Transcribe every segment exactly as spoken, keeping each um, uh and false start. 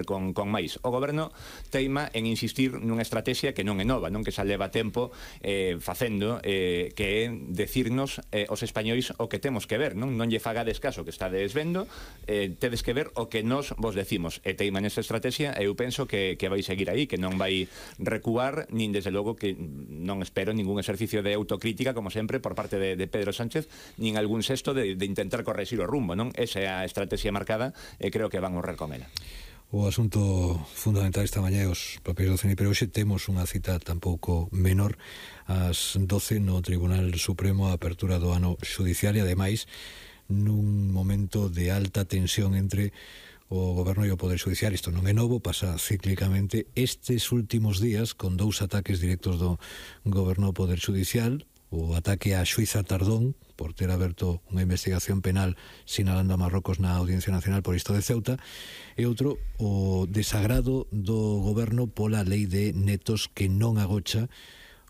con, con máis. O goberno teima en insistir nunha estrategia que non é nova, non que xa leva tempo eh, facendo, eh, que é decirnos eh, os españois o que temos que ver, non non lle fagades caso que estades vendo, eh, tedes que ver o que nos vos decimos, e teima nesa estrategia, e eu penso que, que vai seguir aí, que non vai recuar, nin desde logo que non espero ningún exercicio de autocrítica, como sempre, por parte de, de Pedro Sánchez, nin algún sexto de, de intentar corregir o rumbo, non? Esa é a estrategia marcada, e creo que van honrar con ela. O asunto fundamental esta mañá é os papeis do C N I, pero hoxe temos unha cita tampouco menor ás doce no Tribunal Supremo, a apertura do ano xudicial, e ademais nun momento de alta tensión entre o goberno e o Poder Judicial. Isto non é novo, pasa cíclicamente estes últimos días con dous ataques directos do goberno ao Poder Judicial. O ataque á xuíza Tardón por ter aberto unha investigación penal sinalando a Marrocos na Audiencia Nacional por isto de Ceuta, e outro, o desagrado do goberno pola lei de netos que non agocha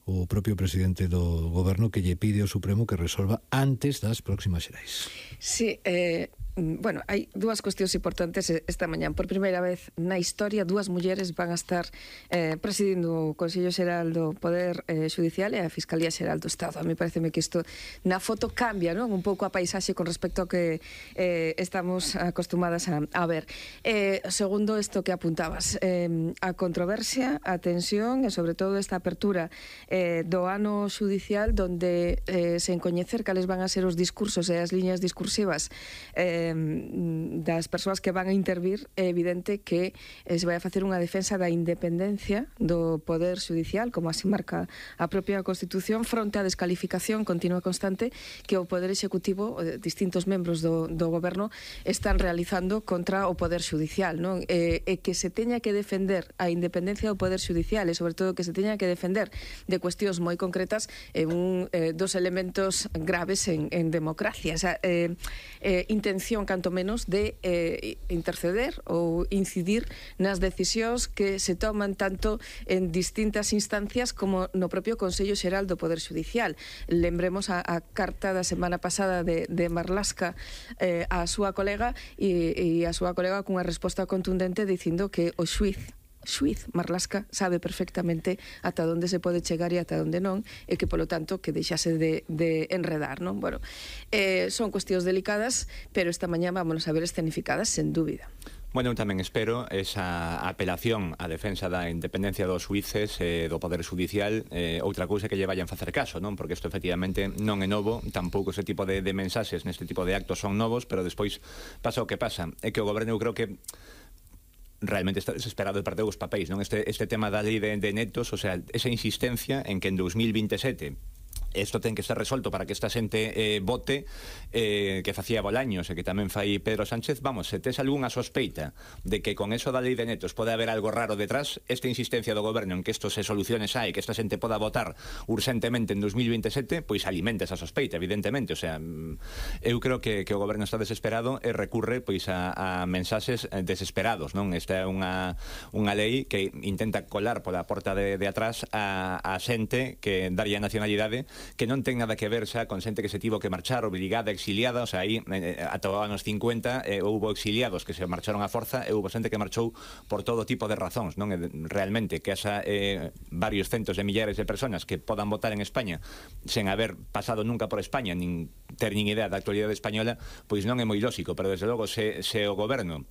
o propio presidente do goberno, que lle pide ao Supremo que resolva antes das próximas xerais. Sí, eh... Bueno, hai dúas cuestións importantes esta mañán. Por primeira vez na historia, dúas mulleres van a estar eh, presidindo o Consello Xeral do Poder eh, Judicial e a Fiscalía Xeral do Estado. A mí pareceme que isto na foto cambia, non? Un pouco a paisaxe con respecto ao que eh, estamos acostumadas a, a ver. Eh, segundo, isto que apuntabas, eh, a controversia, a tensión e sobre todo esta apertura eh, do ano xudicial, donde eh, sen coñecer cales van a ser os discursos e as liñas discursivas eh, das persoas que van a intervir, é evidente que se vai a facer unha defensa da independencia do Poder Judicial, como así marca a propia Constitución, fronte á descalificación continua e constante que o Poder Executivo, distintos membros do, do Goberno, están realizando contra o Poder Judicial, non? E, e que se teña que defender a independencia do Poder Judicial, e sobre todo que se teña que defender de cuestións moi concretas, é un eh, dos elementos graves en, en democracia. O sea, eh, eh, intención canto menos de eh, interceder ou incidir nas decisións que se toman tanto en distintas instancias como no propio Consello Xeral do Poder Judicial. Lembremos a, a carta da semana pasada de, de Marlaska eh, a súa colega, e, e a súa colega cunha resposta contundente dicindo que o xuiz xuiz Marlaska sabe perfectamente ata onde se pode chegar e ata onde non, e que polo tanto que deixase de, de enredar, non? Bueno, eh, son cuestións delicadas, pero esta mañá vámonos a ver escenificadas sen dúbida. Bueno, eu tamén espero esa apelación á defensa da independencia dos xuíces e eh, do Poder Judicial, eh, outra cousa que lle vayan facer caso, non? Porque isto efectivamente non é novo, tampouco ese tipo de, de mensaxes neste tipo de actos son novos, pero despois pasa o que pasa, é que o goberno eu creo que realmente está desesperado de parte dos papéis, non? Este, este tema da lei de, de netos, o sea, esa insistencia en que en dos mil veintesete isto ten que estar resolto para que esta xente eh, vote, eh, que facía Bolaños e que tamén fai Pedro Sánchez. Vamos, se tes algunha sospeita de que con eso da lei de netos pode haber algo raro detrás, esta insistencia do goberno en que isto se solucione xa e que esta xente poda votar urgentemente en dos mil veintesete, pois alimenta esa sospeita, evidentemente. O sea, eu creo que, que o goberno está desesperado e recurre pois a, a mensaxes desesperados, non? Esta é unha, unha lei que intenta colar pola porta de, de atrás a, a xente que daría nacionalidade, que non ten nada que ver xa con xente que se tivo que marchar obligada, exiliada. O sea, aí eh, ata os anos cincuenta eh, houbo exiliados que se marcharon a forza e houbo xente que marchou por todo tipo de razóns, non? E, realmente que esa eh, varios centos de millares de personas que podan votar en España sen haber pasado nunca por España, nin ter nin idea da actualidade española, pois non é moi lógico. Pero desde logo se, se o goberno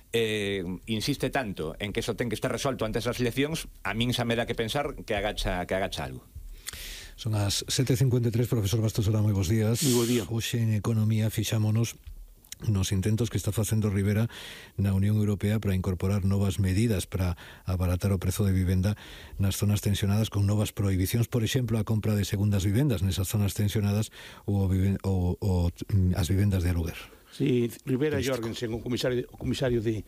Eh, insiste tanto en que eso ten que estar resolto antes das eleccións, a min xa me dá que pensar que agacha, que agacha algo. Son as sete e cincuenta e tres, profesor Bastos, ora moi bons días. Moi bo día. Hoxe en Economía fixámonos nos intentos que está facendo Rivera na Unión Europea para incorporar novas medidas para abaratar o prezo de vivenda nas zonas tensionadas, con novas prohibicións, por exemplo, a compra de segundas vivendas nesas zonas tensionadas ou, ou, ou as vivendas de aluguer. Sí, Rivera e Jorgensen, o comisario, o comisario de,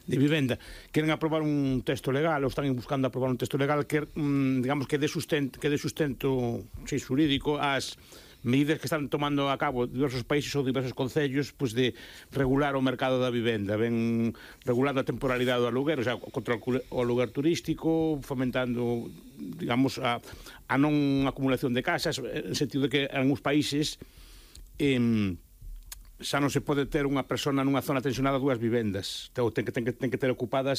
de Vivenda, queren aprobar un texto legal, ou están buscando aprobar un texto legal que, mm, digamos, que dé sustento, que dé sustento sí, xurídico ás medidas que están tomando a cabo diversos países ou diversos concellos, pues, de regular o mercado da vivenda, ben regulando a temporalidade do aluguer, o sea, contra o aluguer turístico, fomentando, digamos, a, a non acumulación de casas, en sentido de que en algúns países eh, xa non se pode ter unha persona nunha zona tensionada dúas vivendas. Ten que, ten que, ten que ter ocupadas